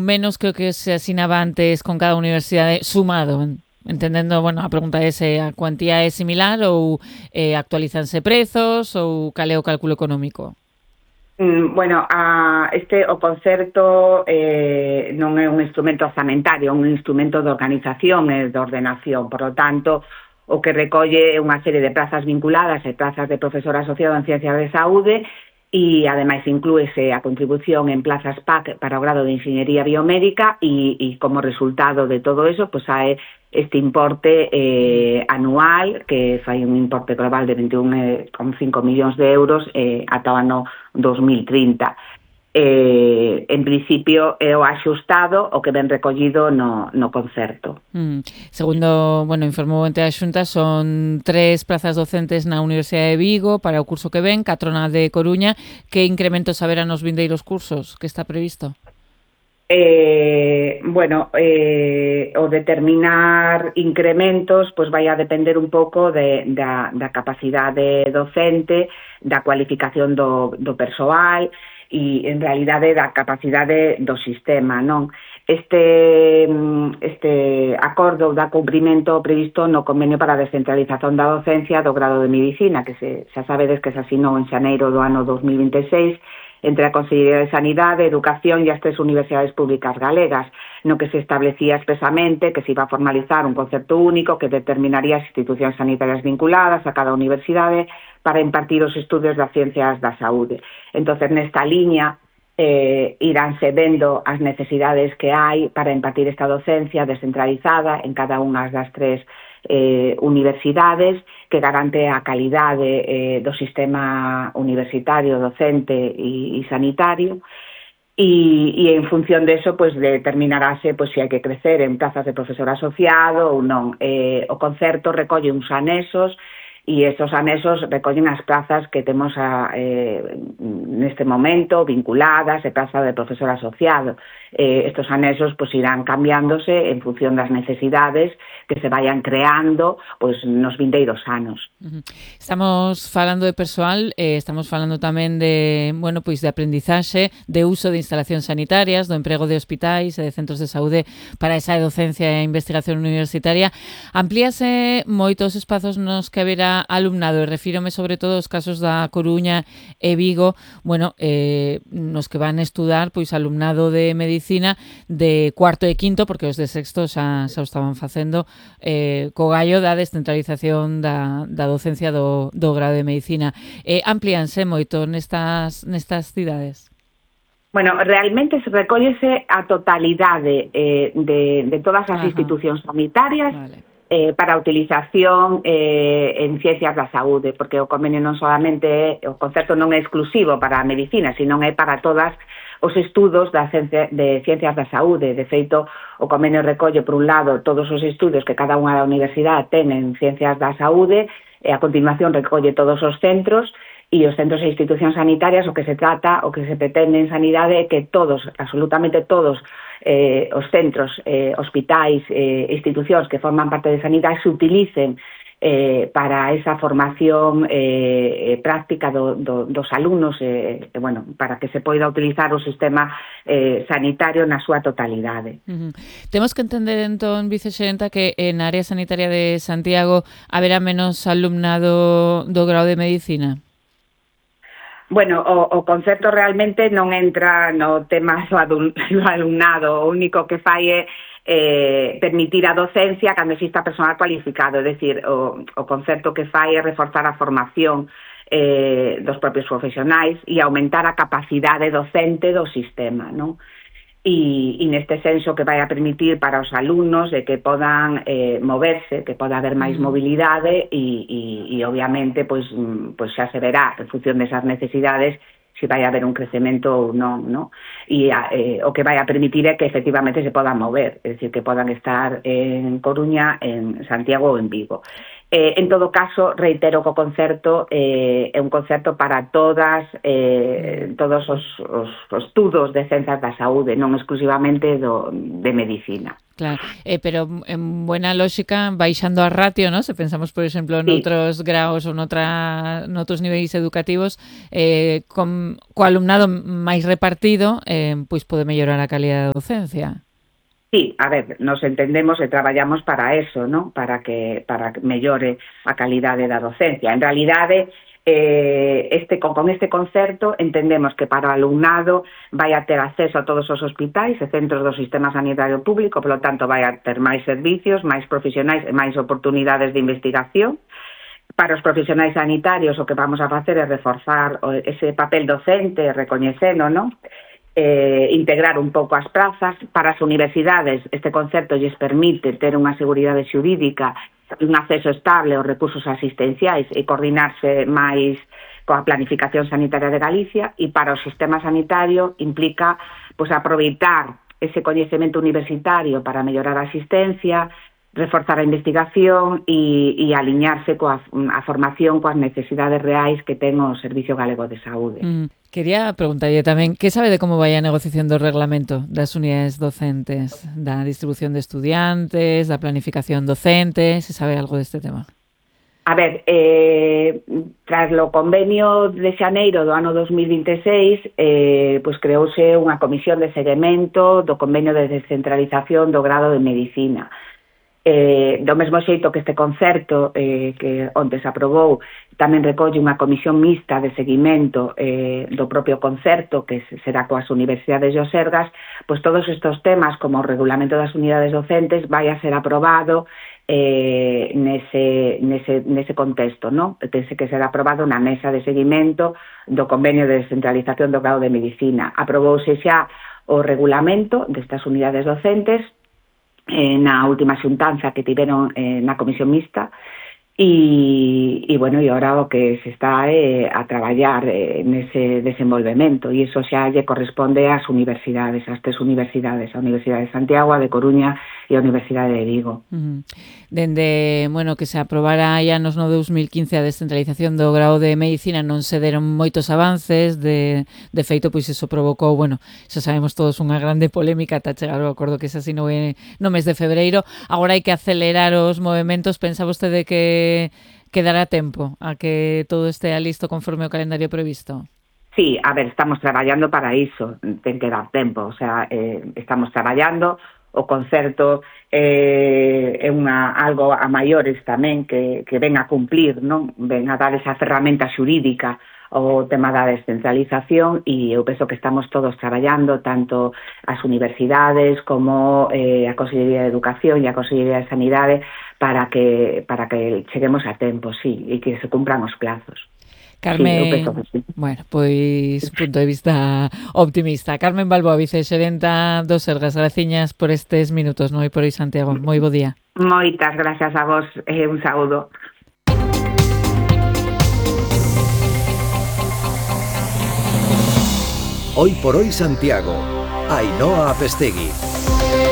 menos que o que se asinaba antes con cada universidade sumado, entendendo, bueno, a pregunta é se a cuantía é similar ou actualizanse prezos ou cal é o cálculo económico? Bueno, o concerto non é un instrumento orzamentario, é un instrumento de organización e de ordenación, por lo tanto, o que recolle unha serie de prazas vinculadas e prazas de profesor asociado en Ciencias de Saúde e, ademais, inclúese a contribución en plazas PAC para o grado de Inxeñería Biomédica e como resultado de todo eso, pues hai este importe anual, que fai un importe global de 21,5 millóns de euros ata o ano 2030. En principio é o axustado o que ven recollido no concerto. Segundo, bueno, informou ente a Xunta, son 3 plazas docentes na Universidade de Vigo para o curso que ven, 4 na de Coruña. Que incrementos haberá nos vindeiros cursos? Que está previsto? O determinar incrementos pues vai a depender un pouco da capacidade docente, da cualificación do persoal e, en realidade, da capacidade do sistema, non? Este acordo dá cumprimento previsto no convenio para a descentralización da docencia do grado de Medicina, que xa sabedes que se asinou en xaneiro do ano 2026, entre a Consellería de Sanidade, Educación e as 3 universidades públicas galegas, no que se establecía expresamente que se iba a formalizar un concepto único que determinaría as institucións sanitarias vinculadas a cada universidade para impartir os estudios das ciencias da saúde. Entonces, nesta liña, iránse vendo as necesidades que hai para impartir esta docencia descentralizada en cada unha das 3 universidades, que garante a calidade do sistema universitario, docente e sanitario, e en función de eso, pues, determinarase pues, se hai que crecer en plazas de profesor asociado ou non. O concerto recolle uns anexos e estos anexos recollen as plazas que temos neste momento vinculadas e plaza de profesor asociado. Estos anexos pues, irán cambiándose en función das necesidades que se vayan creando pues, nos vindeiros anos. Estamos falando de persoal, estamos falando tamén de, bueno, pois de aprendizaxe, de uso de instalacións sanitarias, do emprego de hospitais e de centros de saúde para esa docencia e investigación universitaria. Amplíase moitos espazos nos que haberá alumnado, e refírome sobre todo aos casos da Coruña e Vigo, bueno, nos que van estudar pois alumnado de medicina de cuarto e quinto, porque os de sexto xa o estaban facendo, co gallo da descentralización da docencia do grado de medicina. Amplíanse moito nestas cidades? Bueno, realmente se recóllese a totalidade de todas as institucións sanitarias, vale, para a utilización en ciencias da saúde, porque o convenio non solamente, o concerto non é exclusivo para a medicina, senón é para todas os estudos de ciencias da saúde. De feito, o convenio recolle, por un lado, todos os estudos que cada unha da universidade ten en ciencias da saúde, e a continuación recolle todos os centros, e os centros e institucións sanitarias, o que se trata, o que se pretende en sanidade é que todos, absolutamente todos, os centros, hospitais, institucións que forman parte de sanidade se utilicen para esa formación práctica dos alumnos, bueno, para que se poida utilizar o sistema sanitario na súa totalidade. Temos que entender, entón, vicexerenta, que na área sanitaria de Santiago haberá menos alumnado do grado de medicina? Bueno, o concepto realmente non entra no tema do alumnado, o único que fai é permitir a docencia cando exista personal cualificado, é dicir, o concepto que fai é reforzar a formación dos propios profesionais e aumentar a capacidade docente do sistema, non? E neste senso que vai a permitir para os alumnos de que podan moverse, que poda haber máis mobilidade e obviamente pois xa se verá en función desas necesidades se vai haber un crecemento ou non, non? E o que vai a permitir é que efectivamente se podan mover, é dicir, que podan estar en Coruña, en Santiago ou en Vigo. En todo caso, reitero que o concerto é un concerto para todos os estudos de ciencias da saúde, non exclusivamente de medicina. Claro, pero en buena lógica, baixando a ratio, ¿no? Se pensamos, por exemplo, noutros graos ou noutros niveis educativos, co alumnado máis repartido, pois pode mellorar a calidad da docencia. Sí, a ver, nos entendemos e traballamos para eso, ¿no? Para que mellore a calidade da docencia. En realidade, con este concerto entendemos que para o alumnado vai a ter acceso a todos os hospitais e centros do sistema sanitario público, polo tanto vai a ter máis servicios, máis profesionais e máis oportunidades de investigación. Para os profesionais sanitarios o que vamos a facer é reforzar ese papel docente, recoñecendo, ¿no? Integrar un pouco as prazas. Para as universidades este concerto lles permite ter unha seguridade xurídica, un acceso estable aos recursos asistenciais e coordinarse máis coa planificación sanitaria de Galicia, e para o sistema sanitario implica aproveitar ese coñecemento universitario para mellorar a asistencia, reforzar a investigación e aliñarse coa a formación coas necesidades reais que ten o Servicio Galego de Saúde. Quería preguntarlle tamén, que sabe de como vai a negociación do reglamento das unidades docentes, da distribución de estudiantes, da planificación docente, se sabe algo deste tema? A ver, tras o convenio de xaneiro do ano 2026, creouse unha comisión de seguimento do convenio de descentralización do grado de Medicina. Do mesmo xeito que este concerto que onte se aprobou tamén recolle unha comisión mixta de seguimento do propio concerto que será coas universidades e os Sergas, pois todos estes temas como o regulamento das unidades docentes vai a ser aprobado nese contexto, ¿no? Pense que será aprobado na mesa de seguimento do convenio de descentralización do grado de Medicina. Aprobouse xa o regulamento destas unidades docentes na última xuntanza que tiveron na comisión mixta e agora o que se está a traballar nese desenvolvemento, e iso xa lle corresponde ás universidades, ás tres universidades, a Universidade de Santiago, a de Coruña e a Universidade de Vigo. Dende, que se aprobara hai anos no 2015 a descentralización do grado de Medicina non se deron moitos avances, de feito, pois iso provocou, xa sabemos todos, unha grande polémica ata chegar ao acordo que se asinou no mes de febreiro. Agora hai que acelerar os movementos. Pensa vostede que dará tempo a que todo este listo conforme o calendario previsto? Sí, a ver, estamos traballando para iso, ten que dar tempo, estamos traballando. O concerto é algo a maiores tamén que ven a cumplir, non? Ven a dar esa ferramenta xurídica ao tema da descentralización, e eu penso que estamos todos traballando, tanto as universidades como a Consellería de Educación e a Consellería de Sanidade, para que cheguemos a tempo, sí, e que se cumpran os plazos. Carmen, sí. Pois punto de vista optimista. Carmen Balboa, vicexerenta dos Sergas, graciñas por estes minutos, no? E por aí, Santiago, moi bo día. Moitas gracias a vos, un saúdo. Hoy por hoy Santiago, Ainhoa Apestegui.